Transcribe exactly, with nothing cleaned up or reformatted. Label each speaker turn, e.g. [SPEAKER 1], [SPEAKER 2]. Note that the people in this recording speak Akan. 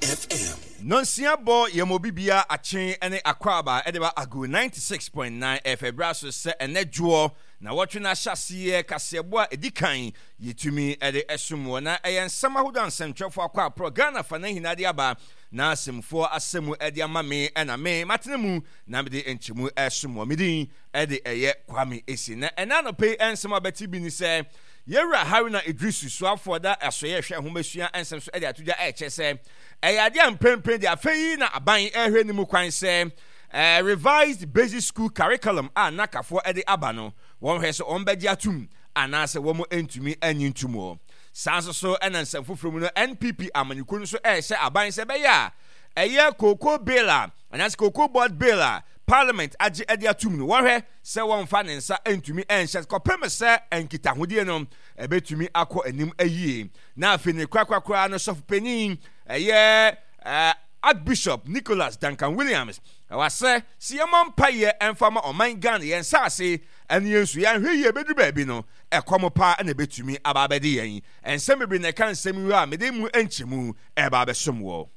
[SPEAKER 1] F M.
[SPEAKER 2] Nonsia bɔ yɛn mo bibia akyen ne akwaaba ɛde ba Ago ninety-six point nine F ɛbra so sɛ ɛnɛ dwoɔ na wɔtwe no ahyɛseɛ kaseɛbɔ a ɛdi kan yɛtumi ɛde ɛsom wɔ na ɛyɛ nsɛm ahodoɔ a nsɛmtwerɛfoɔ akɔ aporɔ Ghana fa na nyinaa de aba na asɛmfoɔ asɛmu ɛde ama me ɛna me matena mu na mede nkyɛmu ɛsom wɔ. Me din ɛde ɛyɛ Kwame Esi. Na ɛna anɔpɛ yi nsɛm a bɛte bi ni sɛ yɛwura Haruna Idrisu, soafoɔ da asɔyɛ hwɛ ahomasua nsɛm so, ɛde ato dwa ɛkyɛ sɛ ɛyɛ adeɛ a mprempren de afei yi na aban ɛhwɛ ne mu kwan sɛ ɛɛ revised basic school curriculum a nakafoɔ ɛde aba no, wɔn hwɛ sɛ wɔn bɛgye atum anaasɛ wɔn ntumi anyi ntum wɔ saa. Nso so ɛna nsɛm foforɔ mu no, N P P amanyɔkuo no nso ɛrehyɛ aban sɛ ɛbɛyɛ a ɛyɛ cocoa bill a anaasɛ Cocoa Board bill a Parliament agye ɛde atum no, wɔhwɛ sɛ wɔmfa ne nsa ntumi ɛnhyɛ kɔpem sɛ nkitahodie no ɛbɛtumi akɔ anim ayie. Na afei ne korakorakora no, sɔfo panyin ɛyɛ ɛɛ Archbishop Nicholas Duncan Williams ɛwɔ sɛ si yɛmmɔ mpayɛ ɛmfa ma ɔman Ghana, yɛn nsaase ɛne yɛn nsu. Yɛnhwɛ yie bɛduru baabi no, ɛkɔm paa ɛna ɛbɛtumi aba abɛde yɛn. Nsɛm bebree na ɛka nsɛm yi a mede mu nkyɛmu ɛba abɛsom wɔ.